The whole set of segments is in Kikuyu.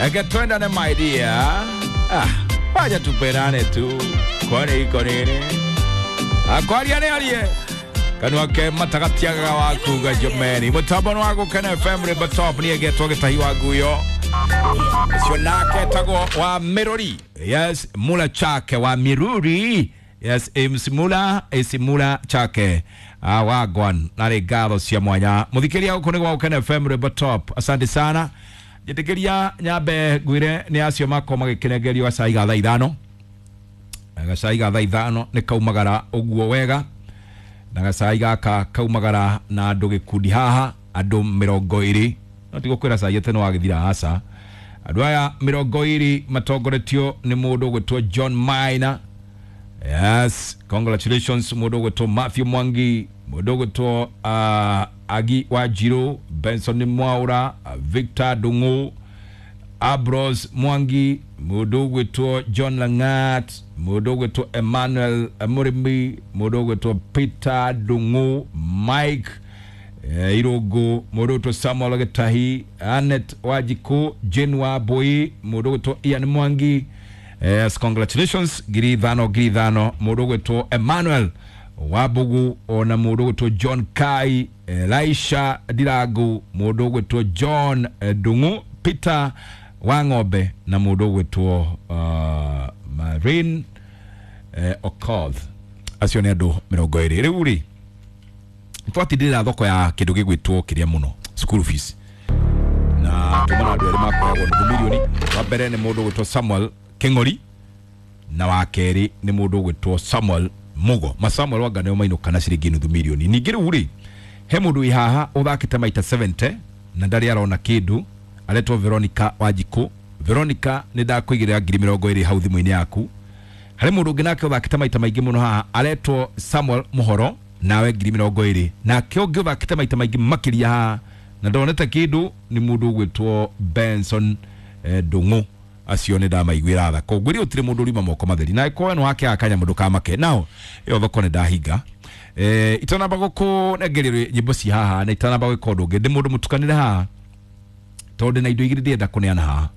Eke twendane my dear. Ah, wacha tupendane tu. Kwani iko nini? Akwaria nĩ arie. Kanua ke matagatiagaga wa kuga jomeni. Mũtambo nĩ wa Gũkena FM River Top nĩ egetwo Gĩtahi wa Nguyo. Ũcio nake etagwo wa Miruri. Yes, Mula Chake wa Miruri. Yes, MC Mula, AC Mula Chake. Ah, wagwan narĩ ngatho cia mwanya. Mũthikĩria gũkũ nĩ gwa Gũkena FM River Top. Asante sana. Njĩtĩkĩria nyambe ngwĩre nĩ acio makorwo magĩkĩnengerio gacai ga thaa ithano. Gacai ga thaa ithano nĩ kaumagara ũguo wega na gacai gaka kaumagara na andũ gĩkundi haha andũ 20 no ti gũkwĩra cai atĩ nĩ wagĩthira, aca. Andũ aya 20 matongoretio nĩ mũndũ ũgwĩtwo John Maina. Yes, congratulations. Mũndũ ũgwĩtwo Matthew Mwangi, mũndũ ũgwĩtwo Agi Wanjiru, Benson Mwaura, Victor Ndung'u, Abros Mwangi, mũndũ ũgwĩtwo John Langat, mũndũ ũgwĩtwo Emmanuel Mũrĩmi, mũndũ ũgwĩtwo Peter Ndung'u, Mike Irũngũ, mũndũ ũgwĩtwo Samuel Gĩtahi, Anet Wanjikũ, Jane Wambui, mũndũ ũgwĩtwo Ian Mwangi. Yes, congratulations. 5,000 5,000. Mũndũ ũgwĩtwo Emmanuel Wambugu ona mũndũ ũgwĩtwo John Kai, Elisha Ndirangu, mũndũ ũgwĩtwo John Ndung'u, Peter Wang'ombe na mũndũ ũgwĩtwo Marin Okoth. Acio nĩ andũ 20. Rĩu rĩ twatindĩrĩra thoko ya kĩndũ gĩgwĩtwo kĩrĩa mũno school fees, na tuma na andũ erĩ makoyagwo nuthu milioni. Wa mbere nĩ mũndũ ũgwĩtwo Samuel Kĩng'ori na wa kerĩ nĩ mũndũ ũgwĩtwo Samuel Mugo. Ma Samuel wanga nĩo mainũka na ciringi nuthu milioni. Ningĩ rĩu rĩ he mũndũ wĩ haha ũthakĩte maita 70 na ndarĩ arona kĩndũ, aretwo Veronica Wanjikũ. Veronica, nĩ ndakũigĩrĩra 20,000 hau thimũ-inĩ yaku. Harĩ mũndũ ũngĩ nake ũthakĩte maita maingĩ mũno haha aretwo Samuel Mũhoro, nawe 20,000. Nake ũngĩ ũthakĩte maita maingĩ makĩria haha na ndonete kĩndũ nĩ mũndũ ũgwĩtwo Benson Ndung'u. Acio nĩ ndamaiguĩra tha, koguo rĩ gũtirĩ mũndũ ũriuma moko matheri, na angĩkorwo we nĩ wakĩaga kanyamũ ndũkamake. Nao ĩyo thoko nĩ ndahinga. Itanamba gũkũnengeria nyĩmbo ci haha na itanamba gwĩka ũndũ ũngĩ, ndĩ mũndũ mũtukanĩre haha tondũ ndĩna indo igĩrĩ ndĩrenda kũneana haha,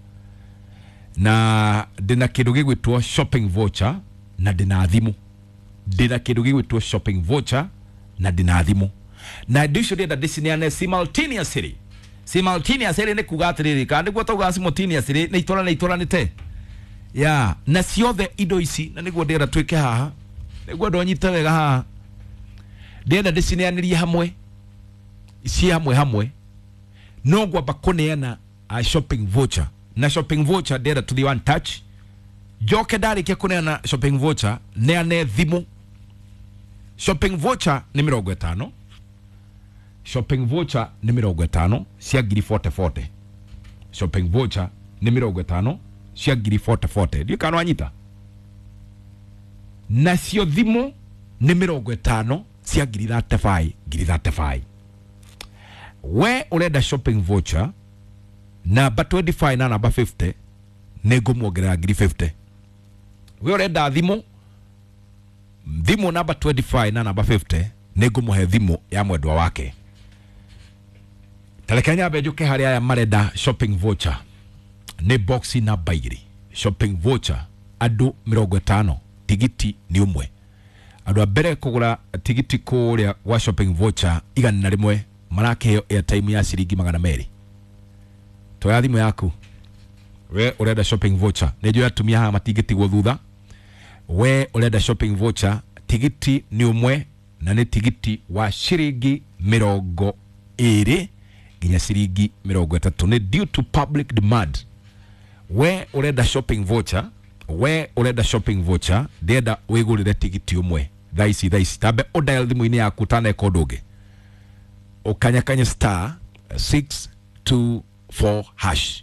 na ndĩna kĩndũ gĩgwĩtwo shopping voucher na ndĩna thimũ. Ndĩna kĩndũ gĩgwĩtwo shopping voucher na ndĩna thimũ, na indo icio ndĩrenda ndĩcineane simultaneously. Simultaneously nĩ kuga atĩrĩrĩ, kana nĩguo tauga simultaneously nĩ itũrane itũranĩte ya na ciothe indo ici, na nĩguo ndĩrenda twĩke haha, nĩguo andũ anyite wega haha, ndĩrenda ndĩcineanĩrie hamwe, ci hamwe hamwe. No ngwamba kũneana a shopping voucher, na shopping voucher ndĩrenda tũthiĩ one touch, njoke ndarĩkia kũneana shopping voucher neane thimũ. Shopping voucher nĩ 50, shopping voucher nĩ 50 cia ngiri 40 40. Shopping voucher nĩ 50 cia ngiri 40 40, ndiũ kana wanyita. Nacio thimũ nĩ 50 cia ngiri 35 ngiri 35. We ũrenda shopping voucher namba 25 na namba 50, nĩ ngũmuongerera ngiri 50. We ũrenda thimũ, thimũ namba 25 na namba 50, nĩ ngũmũhe thimũ ya mwendwa wake. Tareke nyambe njũke harĩa aya marenda shopping voucher. Nĩ box namba 2 shopping voucher, andũ 50, tigiti nĩ ũmwe. Andũ a mbere kũgũra tigiti kũrĩa gwa shopping voucher 100 marakĩheo airtime ya ciringi 200. Toya thimũ yaku we ũrenda shopping voucher, nĩ njũĩ atumia haha matingĩtigwo thutha. We ũrenda shopping voucher, tigiti nĩ ũmwe na nĩ tigiti wa ciringi 20 nginya ciringi 30, nĩ due to public demand. We ũrenda shopping voucher, we ũrenda shopping voucher, ndĩrenda wĩgũrĩre tigiti ũmwe thaa ici thaa ici. Tambe ũdial thimũ-inĩ yaku ũtaneka ũndũ ũngĩ, ũkanyakanye star 624 hash.